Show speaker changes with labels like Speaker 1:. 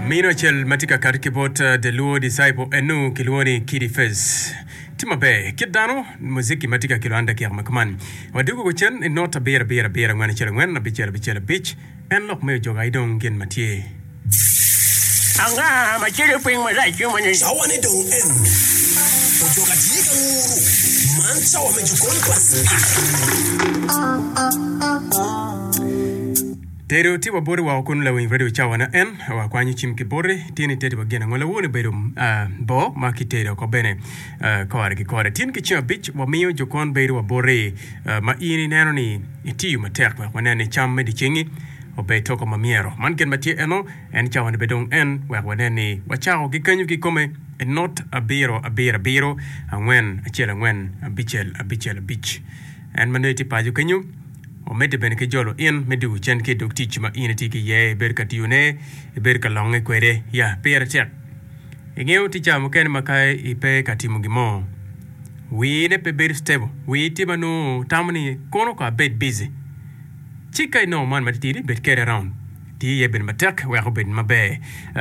Speaker 1: Mino acel ma tye ka kati ki bot The Luo Disciple enu kilwongo ni Kidi Face. Tye maber kit dano muziki ma tye ka kelo an dakika ma kuman. Wadwogo ko cen i not abiro abiro abiro angwen acel angwen abicel abicel abic. En lok me ojoga aye dong gin ma tye.
Speaker 2: Anga ma celo piny marac ki moni?
Speaker 3: Cawane dong en ojoga tye ka nguru. Man cawa me jokon pa Spik.
Speaker 1: Tedo tye wa boti woko kunu lawiny radio cawa na en wa kwanyo cim ki boti tye ni tedi wa gin ango lawoni obedo boo ma ki tedo oko bene kore ki kore tin ki ceng abic wa miyo jokon bedo wa boti ma in ineno ni itiyo matek wek wanen ni cam me dyecengi obed toko ma myero man gin ma tye eno en cawa ni bene dong en wek wanen ni wacako ki kenyo kikome i not abiro abiro abiro angwen acel angwen abicel abicel abic en ma nongo itye paco kenyo. Omedde bene ki jolo in me dwogo cen ki i dog tic ma in itye ki iye, ibedo ka tiyone, ibedo ka longe kwede. Ya, pire tek. Ingeyo tye cawa mukene ma ka ipe ka timo gin mo, wii ne pe bedo stable. Wii tye ma nongo tamo ni kono ko abed busy. Ci ka inongo man matitidi, bed kede around. Ti iye bene matek wek obed maber.